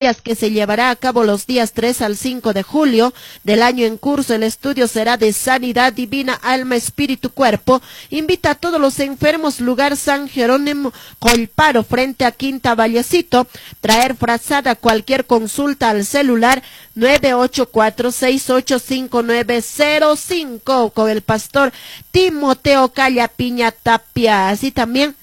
Que se llevará a cabo los días 3 al 5 de julio del año en curso. El estudio será de sanidad divina, alma, espíritu, cuerpo. Invita a todos los enfermos, lugar San Jerónimo Colparo, frente a Quinta Vallecito. Traer frazada cualquier consulta al celular 984685905 con el pastor Timoteo Callapiña Tapia. Así también,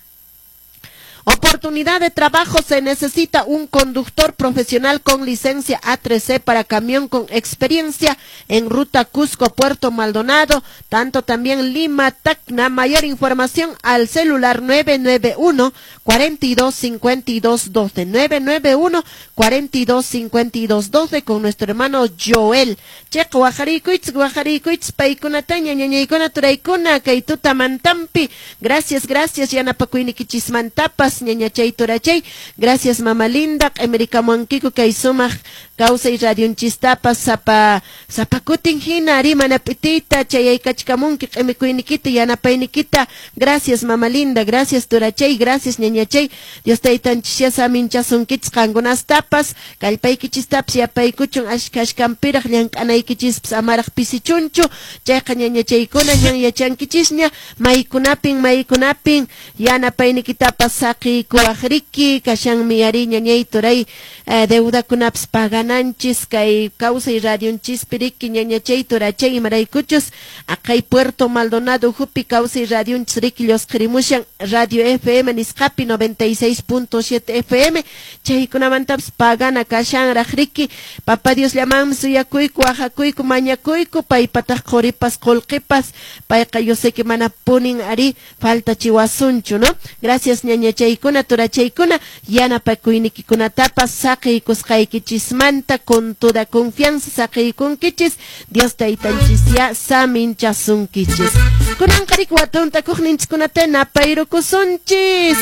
oportunidad de trabajo: se necesita un conductor profesional con licencia A3C para camión con experiencia en ruta Cusco, Puerto Maldonado, tanto también Lima, Tacna. Mayor información al celular 991 42 52 12, 991 42 52 12 con nuestro hermano Joel. Chayqa waqarikuychis, waqarikuychis paykunataña, ñañaykuna, turaykuna, kay tutamantampi. Gracias, gracias yanapakuynikichismantapas, ñañachay, turachay. Gracias, mama linda, q'imirikamuwankiku kay sumaq kawsay radionchistapas sapa sapa kutin hina ari mana p'itiyta chayaykachkamunki q'imikuynikita, yanapaynikita. Gracias, mama linda, gracias, turachay, gracias, ñañachay. Dios taytanchisya saminchasunkichis qankunastapas, kallpaykichistapas yapaykuchun, ashka ashkanpiraq llank'anaykichispas amaraq pisichunchu. Chayqa ñañachaykuna, ñan yachankichisña maykunapin maykunapin yanapaynikitapas saqiykuwaq riki. Kashanmi ari, ñañay, turay, deudakunapas pagananchis kay kawsay radionchispi riki, ñañachay, turachay, imaraykuchus aqhay Puerto Maldonado hupi kawsay radionchis riki llusqirimushan radio FM nisqapi 96.7 FM, chaykunamantapas pagana kashanraq riki. Papa Dios llamanmi suyakuyku, waqakuyku, mañakuyku, paypataq quripas qullqipas, payqa yo sé que mana punin ari faltachiwasunchu, ¿no? Gracias, ñañachaykuna, turachaykuna, yanapakuynikikunatapas saqiykusqaykichismanta. Con toda confianza saqiykunkichis, Dios taytanchisya saminchasunkichis. Kunanqa riki watuntakuqninchikkunata napayrukusunchis.